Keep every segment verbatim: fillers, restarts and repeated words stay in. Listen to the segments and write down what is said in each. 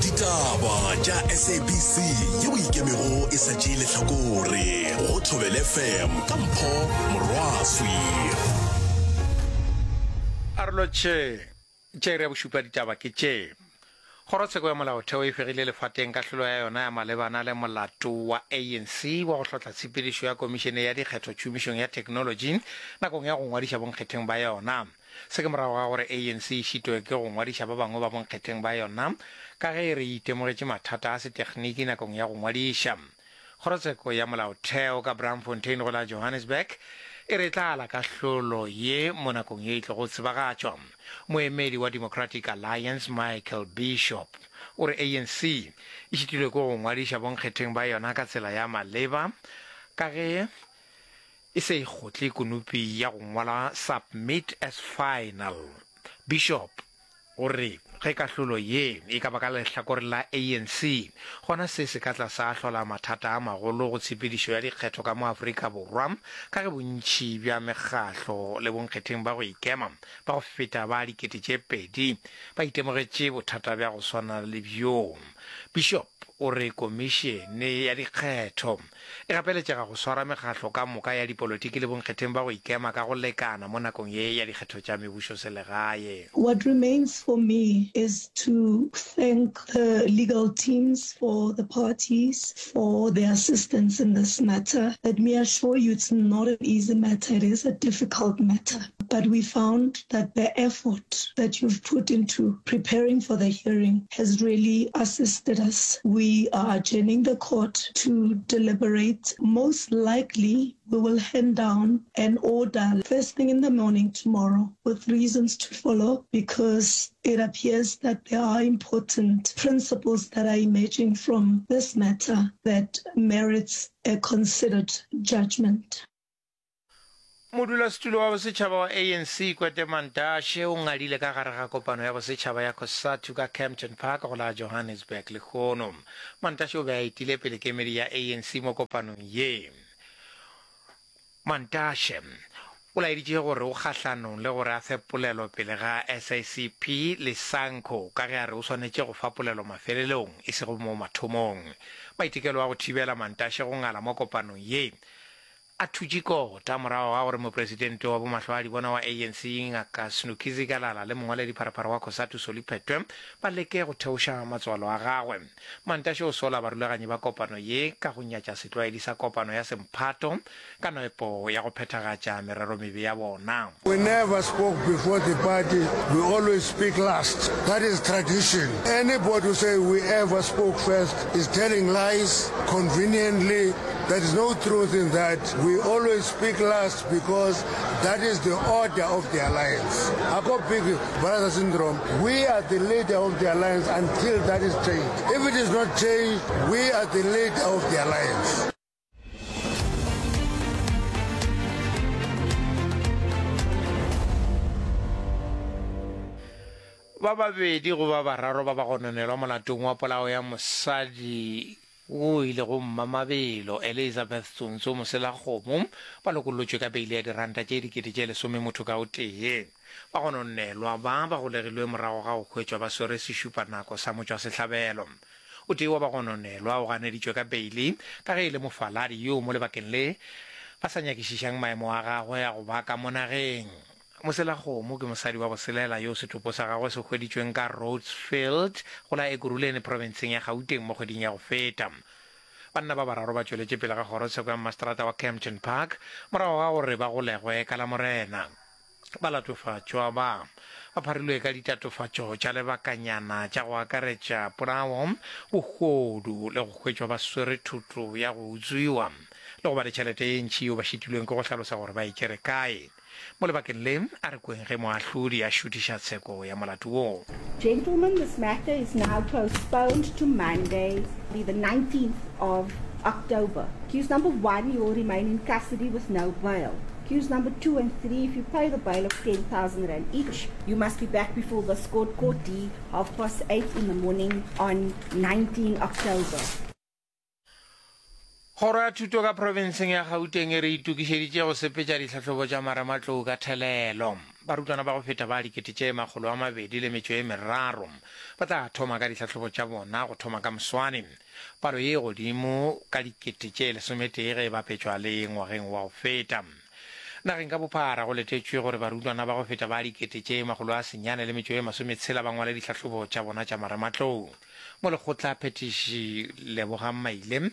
Ditaba tša S A B C yeo ikemego e sa tšee lehlakore go Thobela F M ka Mpho Morwaswi. Arolo tše tše iri ya bošupa ditaba ke tše. Kgorotsheko ya Molaotheo e fegile lefateng kahlolo ya yona ya malebana le molato wa A N C wa go hlotla tshepedišo ya Komišene ya Dikgetho tšhomišong ya theknolotši nakong ya go ngwadiša bonkgetheng ba yona. Se ke morago ga gore A N C e šitwe ke go ngwadiša ba bangwe ba bonkgetheng ba yona ka ge e re e itemogetše mathata a setekgniki nakong ya go ngwadiša. Kgorotsheko ya Molaotheo ka Braamfontein go la Johannesburg e re tla ala kahlolo ye mo nakong ye e tlogo tsebagatšwa. Moemedi wa Democratic Alliance Michael Bishop o re A N C e šitilwe ke go ngwadiša bonkgetheng ba yona ka tsela ya maleba ka ge e se e kgotle konopi ya go ngwala "submit as final". Bishop o re ge kahlolo ye e ka ba ka lehlakore la A N C, gona se se ka tla sa hlola mathata a magolo go tshepedišo ya dikgetho ka mo Afrika Borwa, ka ge bontši bja mekgahlo le bonkgetheng ba go ikema ba go feta ba dikete tše pedi ba itemogetše bothata bja go swana le bjo. Bishop o re komišene ya dikgetho e gapeletšega go swara mekgahlo ka moka ya dipolotiki le bonkgetheng ba go ikema ka go lekana mo nakong ye ya dikgetho tša mebušoselegae. What remains for me is to thank the legal teams for the parties for their assistance in this matter. Let me assure you it's not an easy matter, it is a difficult matter. But we found that the effort that you've put into preparing for the hearing has really assisted us. We are adjourning the court to deliberate. Most likely, we will hand down an order first thing in the morning tomorrow with reasons to follow, because it appears that there are important principles that are emerging from this matter that merits a considered judgment. Modulasetulo wa bosetšhaba wa A N C Gwede Mantashe o ngadile ka gare ga kopano ya bosetšhaba ya COSATU ka Kempton Park go la Johannesburg lehono. Mantashe o be a etile pele kemedi ya A N C mo kopanong ye. Mantashe o laeditše gore o kgahlanong le gore a fe polelo pele ga S A C P le SANCO, ka ge a re o swanetše go fa polelo mafelelong e sego mo mathomong. Maitekelo a go thibela Mantashe go ngala mo kopanong ye a thutše kota morago ga gore mopresidente wa bomahlo a dibona wa A N C Ngaka Snuki Zikalala le mongwaledi pharapara wa COSATU Solly Phetoe ba leke go theoša matswalo a gagwe. Mantashe o sola barulaganyi ba kopano ye ka go nyatša setlwaedi sa kopano ya semphato ka nepo ya go phethagatša merero mebe ya bona. We never spoke before the party. We always speak last. That is tradition. Anybody who say we ever spoke first is telling lies conveniently. There is no truth in that. We always speak last because that is the order of the alliance. Ako big brother syndrome. We are the leader of the alliance until that is changed. If it is not changed, we are the leader of the alliance. Ba babedi go ba bararo ba ba gononelwa molatong wa polao ya mosadi wo ilego Mmamabelo Elizabeth Tsontso Moselakgomo ba lokollotšwe ka beile ya diranta tše dikete tše lesome motho ka o tee. Ba gononelwa ba ba golegilwe morago ga go hwetšwa ba swere sešupanako sa motšwasehlabelo. O tee wa bagononelwa o ganeditšwe ka beile ka ge e le mofaladi yo mo lebakeng le ba sa nyakišišang maemo a gagwe a go ba ka mo nageng. Moselakgomo ke mosadi wa boselela yo setopo sa gagwe se hweditšweng ka Rhodesfield go la Ekurhuleni profenseng ya Gauteng mo kgweding ya go feta. Banna ba bararo ba tšweletše pele ga kgorotsheko ya maseterata wa Kempton Park morago ga gore ba golegwe ka Lamorena. Balatofatšwa ba ba pharilwe ka ditatofatšo tša lebakanyana tša go akaretša polao, bohodu le go hwetšwa ba swere thoto ya go utswiwa le go ba le tšhelete ye ntši yeo ba šitilweng ke go hlalosa gore ba e tšere kae. Mo lebakeng le a re kweng ge moahlodi a šuthiša tsheko ya molato woo. Gentlemen, this matter is now postponed to Monday, the nineteenth of October. Accused number one, you will remain in custody with no bail. Accused number two and three, if you pay the bail of ten thousand rand each, you must be back before this court, Court D, half past eight in the morning on nineteen October. Kgoro ya Thuto ka profenseng ya Gauteng e re itokišeditše go sepetša dihlahlobo tša marematlou ka thelelo. Barutwana ba go feta ba dikete tše makgolo a mabedi le metšo e meraro ba tla thoma ka dihlahlobo tša bona go thoma ka moswane. Palo ye e godimo ka dikete tše lesometee ge e bapetšwa le ngwageng wa go feta. Nageng ka bophara go letetšwe gore barutwana ba go feta ba dikete tše makgolo a senyane le metšo e masometshela ba ngwale dihlahlobo tša bona tša marematlou. Molekgotla phethiši Lebogang Maile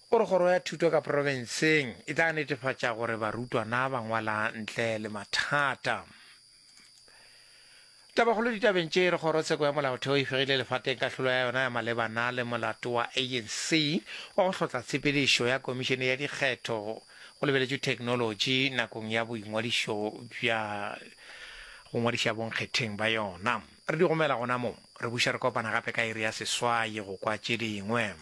o re kgoro ya thuto ka profenseng e tla netefatša gore barutwana ba ngwala ntle le mathata. Tabakgolo ditabeng tše re kgorotsheko ya molaotheo e fegile lefateng kahlolo ya yona ya malebana le molato wa A N C wa go hlotla tshepedišo ya komišene ya dikgetho go lebeletšwe theknolotši nakong ya boingwadišo bja go ngwadiša bonkgetheng ba yona. Re di gomela gona mo, re buša re kopana gape ka iri ya seswai go kwa tše dingwe.